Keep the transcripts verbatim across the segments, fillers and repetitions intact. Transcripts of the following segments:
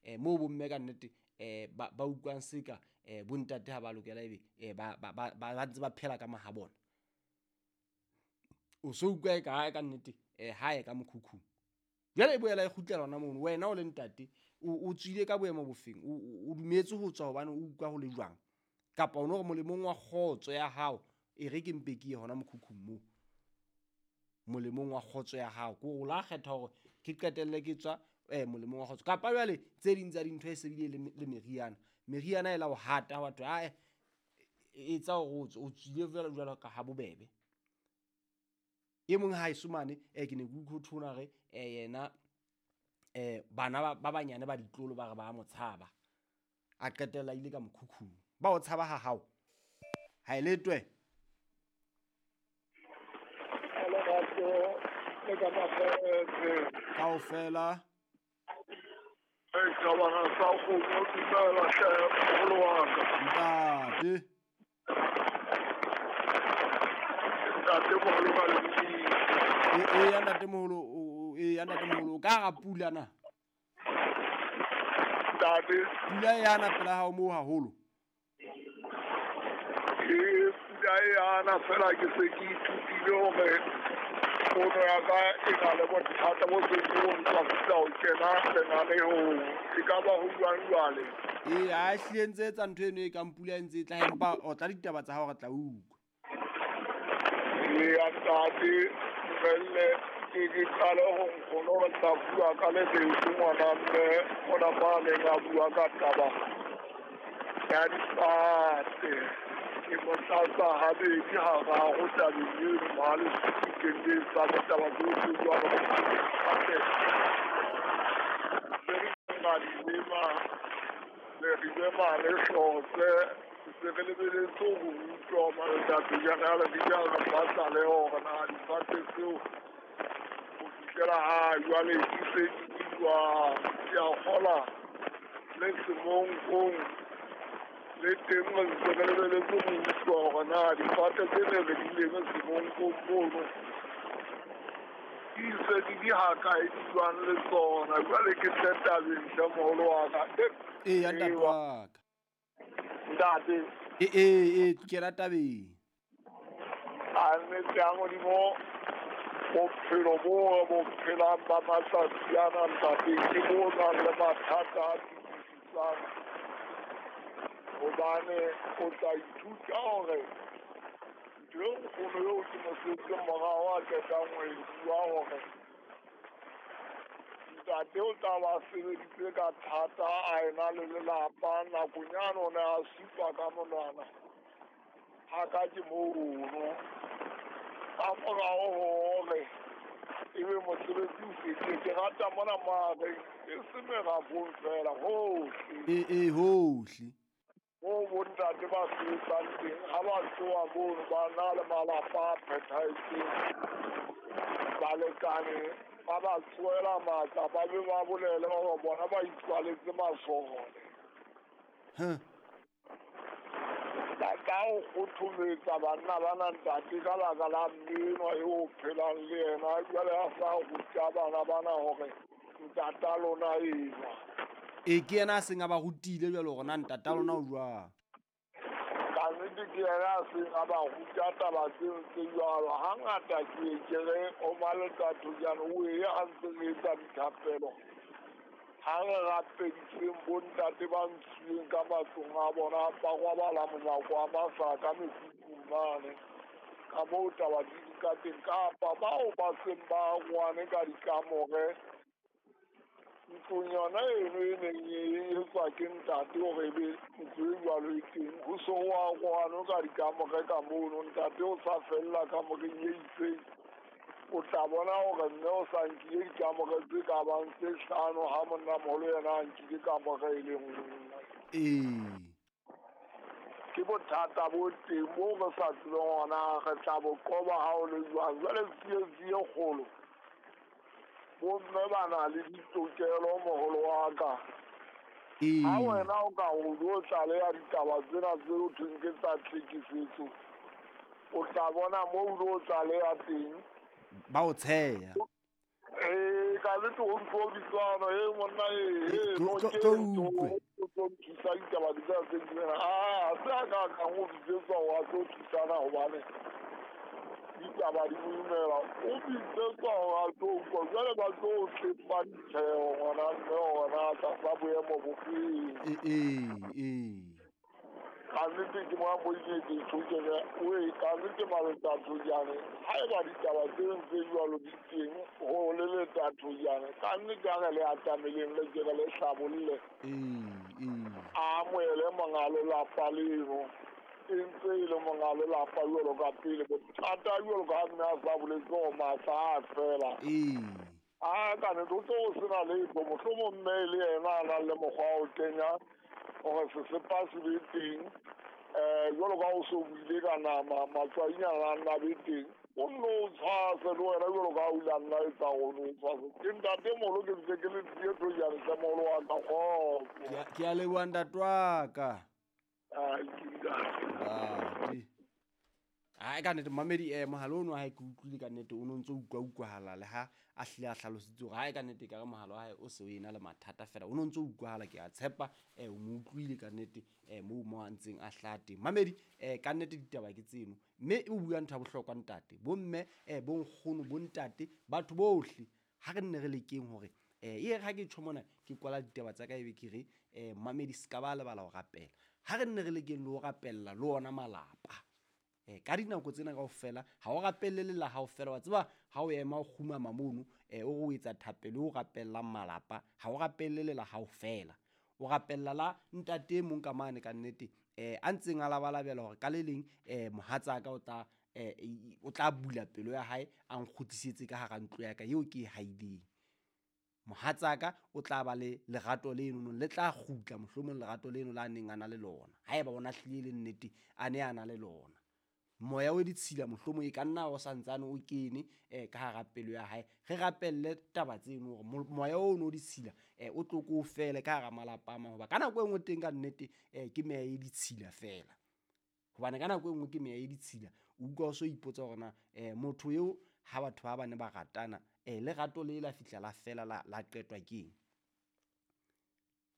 um moo bomme ka nnete um ba ba utlwang seka um bontate ha ba lokela ebe um ba ba ba ba ntse ba phela ka mahabona. O so utlwa e ka hae ka nnete um hae ka mokhukhung. Jwale e boela e kgutlela hona mono, wena o le ntate o o tswile ka boemo bofeng, o o dumetse ho tswa hobane o utlwa ho le jwang, kapa o no re molemong wa kgotso ya hao e re ke mpe ke ye hona mokhukhung moo. Molemong wa kgotso ya hao ke hore o la kgetha hore ke qetelle ke tswa eh molemong wa kgotso, kapa jwale tse ding tsa dintho e se bile le le meriana. Meriana e la o hata wa thwe ae etsa hore o tswe, o tswile jwalo jwalo ka ha bobebe. E mong ha eso mane eh ke ne ke utlwe ho thona re eh yena eh bana ba ba banyane ba ditlolo ba re ba mo tshaba, a qetella ile ka mokhukhung. Ba o tshaba ha hao ha e letwe. Kaofela ntate. E e ya ntate moholo, e ya ntate moholo ka hara pula na. Ntate. Pula e yana pela hao moo haholo. Ke pula e yana fela ke se ke ithutile hore fono ya ka e na le bothata bo seng bo ntswafisa ho kena lenaneong. E ka ba ho jwang jwale? Ee, ha ehlile ntse etsa ntho eno e kang pula e ntse e tla, empa o tla ditaba tsa hao re tla utlwa. Eya ntate, dumelle ke ke qale ho nkgono re tla bua ka le leso ngwana mme mona ba neng a bua ka taba ya difate. Ke mo tlatsa habedi hararo tabeng eno mahalo ke tsa ditaba tsohle jwalo. Se re ra di lema, re rile mane hlotse, se re lebeletse ho utlwa matsatsi jana le dijalo ba tlaleho hore na difate tseo ho fihlela ha jwale di se di jwang. Ke a kgola le semonkong le teng re ntse re lebeletse ho utlwa hore na difate tse ne re di leme semonkong mono di se di di hakae, di jwang le tsona. Jwale ke tle tabeng hle moholo wa ka. Ee ya ntate wa ka. Ntate. E e e kena tabeng. A nnete ya Modimo, bophelo bo re bo phelang ba matsatsi ana ntate ke bo nang le mathata a fetisisang, hobane o tla ithuta hore ntho e nkgono eo ke mo setseng morao a qetang ho e bua hore ntate o tla ba sebeditse ka thata a ena le lelapa, nakong yane o ne a supa ka monwana ha ka ke mono. Ka morao hore ebe mosebetsi o fedile, ke rata mona mare e se merafong fela hohle. E e hohle. Moo bontate ba sebetsang teng ha ba tloha mono ba na le malapa a phethahetseng, balekane ba ba tsoela matla, ba be ba bolele hore bona ba itswaletse masole. Ba ka o kgothometsa banna bana ntate ka baka la mme enwa eo o phelang le yena, jwale a sa ruta bana bana hore ntata lona enwa. E ke yena a seng a ba rutile jwale hore na ntata lona o jwang. Ka nnete ke yena a seng a ba ruta taba tseo tse jwalo. Hangata ke ye ke re o Maletato jane o ye ha ntse re etsa dithapelo, ha re rapediseng bontate ba ntshuweng ka matlong a bona, ba robala monyako wa masaka mekhukhung mane ka moo taba di di ka teng, kapa bao ba seng ba arohane ka dikamore ntlong yona eno e neng e etswa ke ntate hore ebe ntlo e jwalo e teng, ho so ho arohanwe ka dikamore ka mono, ntate o sa fella kamoreng e itseng. O tla bona hore mme o sa nkile dikamore tse ka bang tse hlano ha monnamoholo yena a nkile kamore e le nngwe. Ee. Ke bothata bo teng bo re sa tsebeng hore na re tla bo qoba ha o le jwang. Jwale tsietsi e kgolo, bomme ba na le ditokelo moholo wa ka. Ee. Ha wena o ka o lo tlaleha ditaba tsena tse ho thweng ke tsa tlhekefetso, o tla bona moo o lo tlaleha teng ba o tsheya. Ee, ka nnete ho ntso bitswana e monna e Eh, e tlo- no tlo- ke tlo ntho utlwe. o tlo nthusa ditaba di tsa tse tsena. Ah, se a ka ka ho bitsetswa hore a tlo thusana hobane ditaba di boimela. O bitsetswa hore a tlo utlwa jwale ba tlo o tlepa ditjheho ngwana mme hore na tlasa boemo bo feng. Ee, ee, ee. Ka nnete ke mona mo ke ke tjho oe ka nnete Maletathojane haeba ditaba tse tse jwalo di teng ho le Letathojane ka nnete a re le atameleng le ke re le hlabolle Ee, ee. a amohele monga lelapa leno e ntse e le monga lelapa jwalo ka pele bothata jwalo ka ha mme a sa boletse hore matla a fela Ee. a ka nnete o tlo o sena letho mohlomong mme e le yena a nang le mokgwa wa ho kenya hore sesepa se be teng um jwalo ka ha o so buile ka nama matswainyana a nna be teng o nno o tshwase le wena jwalo ka ha o ile a nna etsa hore o tshwase ke ntate moholo ke ntse ke le tie thojane hle moholo wa ka kgotso Ke a- ke a leboha ntate wa ka. Ai, ke ntate. Ntate. Ai ka nnete mamedi eh mohala ono wa hae ke utlwile ka nnete o no ntso utlwa utlwahala le ha a hlile a hlalositse hore hae ka nnete ekare mohala wa hae o se o ena le mathata fela o no ntso utlwahala ke a tshepa eh o mo utlwile ka nnete eh moo mo a ntseng a hlaha teng. Mamedi eh ka nnete ditaba ke tseno mme o bua ntho ya bohlokwa ntate bomme eh bonkgono bontate batho bohle ha re nne re lekeng hore eh e re ha ke tjho mona ke kwala ditaba tsa ka ebe ke re eh mamedi se ka ba lebala ho rapela ha re nne re lekeng le ho rapella le ona malapa. Eh ka dinako tsena kaofela ha o rapelle le la hao fela wa tseba ha o ema o kgumama mono eh o re o etsa thapelo o rapellang malapa ha o rapelle le la hao fela o rapella la ntate e mong ka mane ka nnete eh a ntseng a labalabela hore ka le leng eh mohatsaka o tla eh o tla bula pelo ya hae a nkgutlisetse ka hara ntlo ya ka eo ke e haileng. Mohatsaka o tla ba le lerato leno le tla kgutla mohlomong lerato leno la neng a na le lona haeba ona hlile le nnete a ne a na le lona. Moya o ditshila mohlomong e ka nna o santsane o kene eh ka hara pelo ya hae re rapelle taba tseno hore moya ono o ditshila eh o tlo ko fele ka hara malapa a mang hoba ka nako e nngwe teng ka nnete eh ke meya e ditshila fela hobane ka nako e nngwe ke meya e ditshila o utlwa o so ipotsa hore na eh motho eo ha batho ba bane ba ratana eh lerato le la fihla la fela la la qetwa keng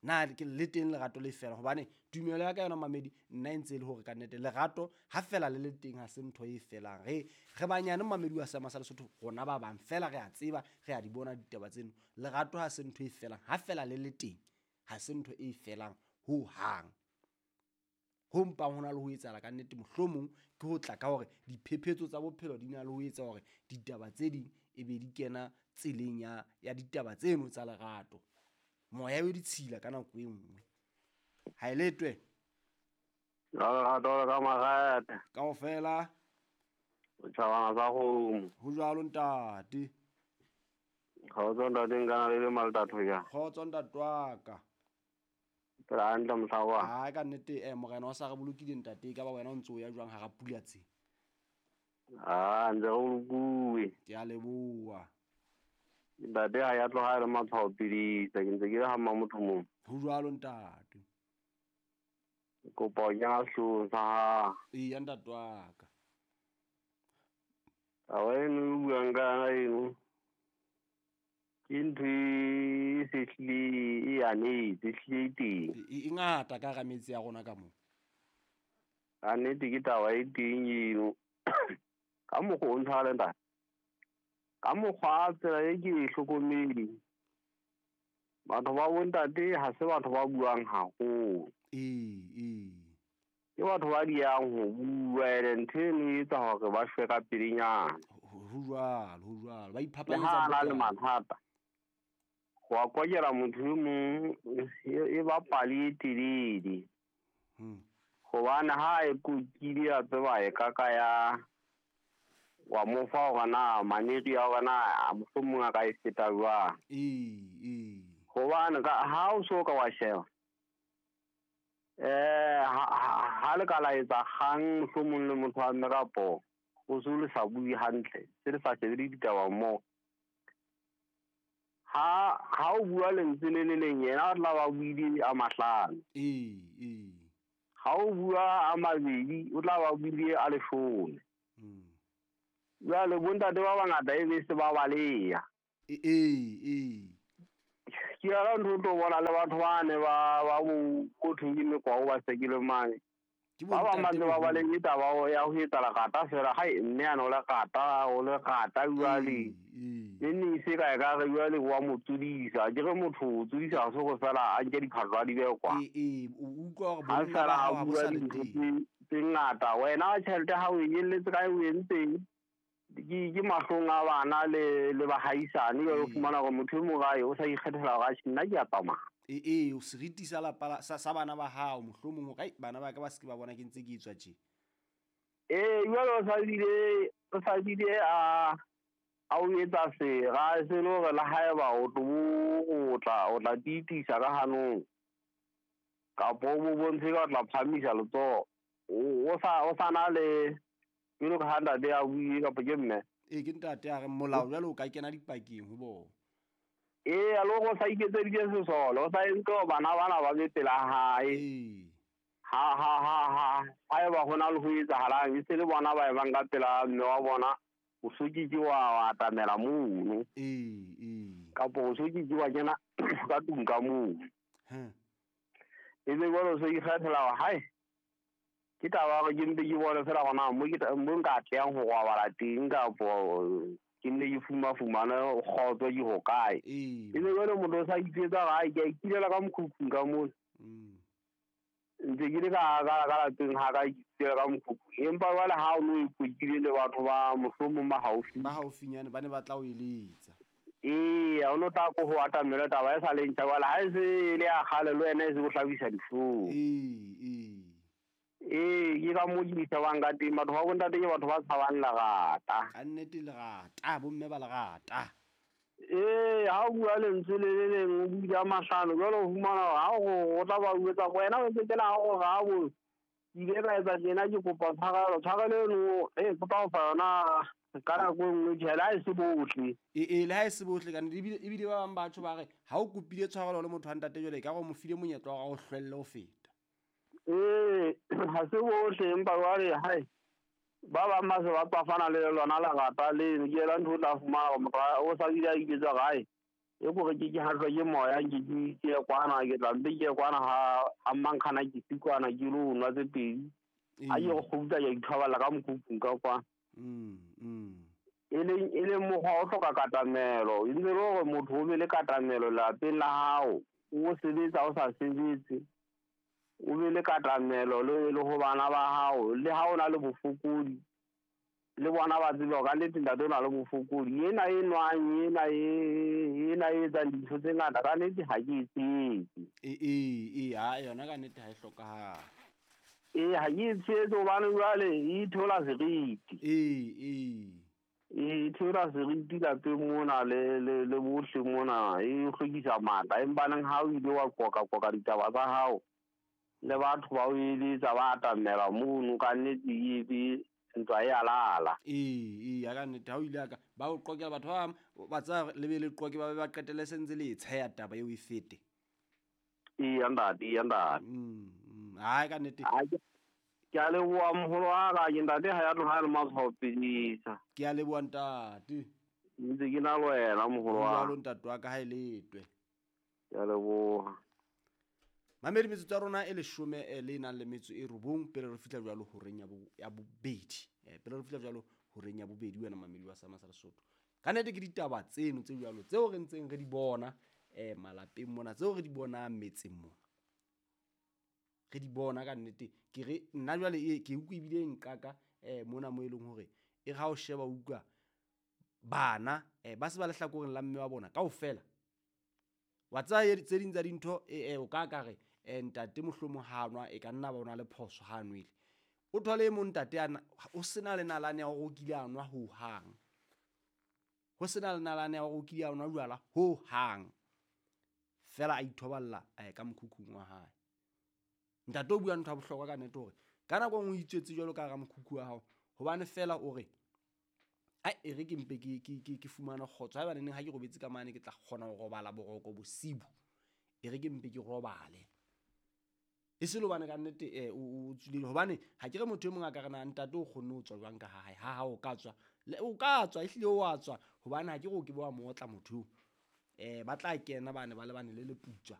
na ke le teng lerato le fela hobane tumelo ya ka yona mamedi nna e ntse e le hore ka nnete lerato ha fela le le teng ha se ntho e felang re re banyane mamedi wa seema sa Lesotho rona ba bang fela re a tseba re a di bona ditaba tseno lerato ha se ntho e felang ha fela le le teng ha se ntho e felang ho hang ho mpang hona le ho etsahala ka nnete mohlomong ke ho tla ka hore diphephetso tsa bophelo di na le ho etsa hore ditaba tse ding e be di kena tseleng ya ya ditaba tseno tsa lerato moya o ditshila ka nako e nngwe ha e letwe lerato le ka marata kaofela o tjhabana tsa kgomo ho jwalo ntate kgotso ntate nka le le Maletathojane kgotso ntate wa ka phela hantle mohla wa ha ka nnete eh morena o sa re bolokile ntate e ka ba wena o ntso o ya jwang hara pula tse ah ntse re bolokuwe ke a leboha ntate ha ya tloha le matshwao pidisa ke ntse ke le ha mmamotho mong ho jwalo ntate kopa ho kena sehloohong sa hao eya ntate wa ka taba eno e buang ka yona eno ke ntho e se hlile e anetse e hlile e teng e ngata ka hara metse ya rona ka moo ka nnete ke taba e teng eno ka mokgwa o ntshware ntate ka mokgwa tsela e ke e hlokomedi batho ba bontate ha se batho ba buang haholo ee ee ke batho ba diyang ho bua ene ntho eno e etsa hore ba shwe ka pelenyana ho jwalo ho jwalo ba le iphapanyetsa ha a na le bokana. mathata ho a kokela motho e mong e ba pale e telele Hmm. hobane ha e kokile a tseba e ka ka ya wa mo fa hore na maneri a hore na mohlomong a ka e feta jwang ee ee hobane ka ha o so ka wa sheba eh ha le ka la etsa kgang mohlomong le motho wa mme kapo o se le sa bue hantle se le sa shebe le ditaba mmoho ha ha o bua lentswe le le leng yena o tla ba buile a mahlano ee ee ha o bua a mabedi o tla ba buile a leshome Hmm. jwale bontate ba bangata e be se ba baleya Ee ee Ke yona ntho o tlo bona le batho bane ba ba bo ko thweng ke mekwao ba sekile mane. Ke Ba bang ba bontate ntse ba ba boholo. le taba ya ho etsa lerata fela hai mme ana o lerata o lerata jwale. Ee, ee. Ne ne se ka e ka re jwale wa mo tsodisa. Ke re motho o tsodisa ha se hore fela a nke diphahlo a di behe kwa. Ee, ee, o utlwa hore Ha bonna ba fela hao a ha bo bua sa le dintho teng. tse tse ngata. Wena tjhelete ha o e nyelletse kae o entseng? Ke ke mahlong a bana le le bahaisane jwale o Ee. fumana hore motho e mong hae o sa ikgethela hore atjhe nna ke a tsamaya. Ee, ee, o seriti sa lapa la sa sa bana ba hao mohlomong hore ai bana ba ka ba se ke ba bona ke ntse ke etswa tje. Ee, jwale o sa bile o sa bile a a o etsa sera se le hore le haeba o tlo bo o tla o tla tiitisa ka hanong kapo o mo bontshe ka o tla phahamisa letsoho. O o sa o sa na le jwalo ka ha ntate a buile kapa ke mme. Ee, ke ntate a re molao jwale o ka kena dipakeng ho bona. Ee, le hore o sa iketseditse sesole, o sa entse hore bana bana ba be pela hae. Ee. Ha ha ha ha haeba hona le ho etsahalang e se le bona ba ebang ka pela mme wa bona o so ke ke wa wa atamela mono. Ee, ee. Kapo o so ke ke wa kena ka tlung ka moo. Heh. Ebe jwale o so ikgethela hore hai ke taba ya hore ke mpe ke bone fela hore na mo ke tla mo nka atlehang ho robala teng kapo ke nne ke fumafumane kgotso ke hokae. Ee. Ebe jwale motho o sa itjwetsa hore hai ke a ikilela ka mokhukhung ka mona. Mm. Ntse ke le ka ka ka lapeng ha ka ikilela ka mokhukhung. Empa jwale ha o no ikotlile le batho ba mohlomong ba haufi. Ba haufinyane ba ne ba tla o eletsa. Ee, ha o no tla ko ho atamela taba e sa le ntjha jwale ha e se e le ya kgale le wena e se o hlabisa dihlong. Ee, ee. Ee, ke ka moo ke di shebang ka teng. Batho ba bontate ke batho ba tshabang lerata. Ka nnete lerata, bomme ba lerata. Ee, ha o bua lentswe le le leng o bua a mahlano jwale o fumana hore ha o o tla ba jwetsa hore wena o ntse kena ha o re ha bo ke ile ka etsa tjena ke kopa tshwarelo. Tshwarelo eno e ke tla o fa yona ka nako e nngwe tjhe le ha e se bohle. Ee, ee, le ha e se bohle ka nnete. Ebile ebile ba bang batho ba re ha o kopile tshwarelo le motho wa ntate jwale ekare o mo file monyetla wa hore a o hlwelle ho feta. Ee, ha se bohle empa jwale hai ba bang ba se ba tswafana le lona lerata leno. Ke yona ntho o tla fumana hore motho o sa bile a ijwetsa hore hai e kore ke ke hahlwa ke moya nke ke ke ye kwana ke tla mpe ke ye kwana ha ha mmankgana ke se kwana ke lo nwa tse pedi. Ha ke re kgutla ke a ithoballa ka mokhukhung ka kwana. Mm, mm. E leng e leng mokgwa o hloka katamelo. E ntse le hore motho o be le katamelo lapeng la hao. O sebetsa o sa sebetse. O be le katamelo le le ho bana ba hao. Le ha o na le bofokodi le bona ba tsebe hore ka nnete ntate o na le bofokodi. Ena e nwang ena e ena e etsang dintho tse ngata ka nnete ha ke e tshehetse. Ee, ee, ee, ha yona ka nnete ha e hlokahale. Ee, ha ke e tshehetse hobane jwale e theola seriti. Ee, ee. E theola seriti lapeng mona le le le bohle mona e hlwekisa matla. Empa neng ha o ile wa qoqa qoqa ditaba tsa hao le batho ba o eletsa ba atamela mono ka nnete e be ntwa e a lala. Ee, ee, ya ka nnete ha o ile a ka ba o qoqela batho ba bang ba tsaya le be le qoqe ba be ba qetelle se ntse le e tsheya taba eo e fete. Eya ntate, eya ntate. Mm, mm, hai ka nnete. Ha ke ke a leboha moholo wa ka ke ntate ha ya tloha le matshwao pedisa. Ke a leboha ntate. Ntse ke na le wena moholo wa. Jwalo ntate wa ka ha e letwe. Ke a leboha. Mamedi metsotso ya rona e leshome eh, le nang le metso e robong pele re fihla jwalo horeng ya bo ya bobedi. Eh, pele re fihla jwalo horeng ya bobedi wena mamedi wa Sama sa Lesotho. Ka nnete ke ditaba tseno tse jwalo tseo re ntseng re di bona eh malapeng mona, tseo re di bonang metseng mona. Re di bona ka nnete. Ke re nna jwale e ke utlwe ebile e nqaka eh mona mo e leng hore e re ha o sheba o utlwa bana eh ba se ba lehlakoreng la mme wa bona kaofela. Wa tsaya tse ding tsa dintho eh o ka ka re eh ntate mohlomong ha nwa e ka nna ba ona le phoso ha nwele. O thole e mong ntate ana o sena le nalane ya hore o kile a nwa ho hang. Ho sena le nalane ya hore o kile a nwa jwala ho hang. Fela a ithoballa eh ka mokhukhung wa hae. Ntate o bua ntho ya bohlokwa ka nnete hore ka nako e nngwe o itswetse jwalo ka hara mokhukhu wa hao hobane fela o re ai e re ke mpe ke ke ke ke fumane kgotso haeba neneng ha ke robetse ka mane ke tla kgona ho robala boroko bosibu e re ke mpe ke robale. E se le hobane ka nnete eh o tswile hobane ha ke re motho e mong a ka re na ntate o kgonne ho tswa jwang ka ha hae ha ha o ka tswa o ka tswa ehlile o a tswa Hobane ha ke re o ke be wa mo otla motho eo. Eh ba tla kena bane ba lebane le leputswa.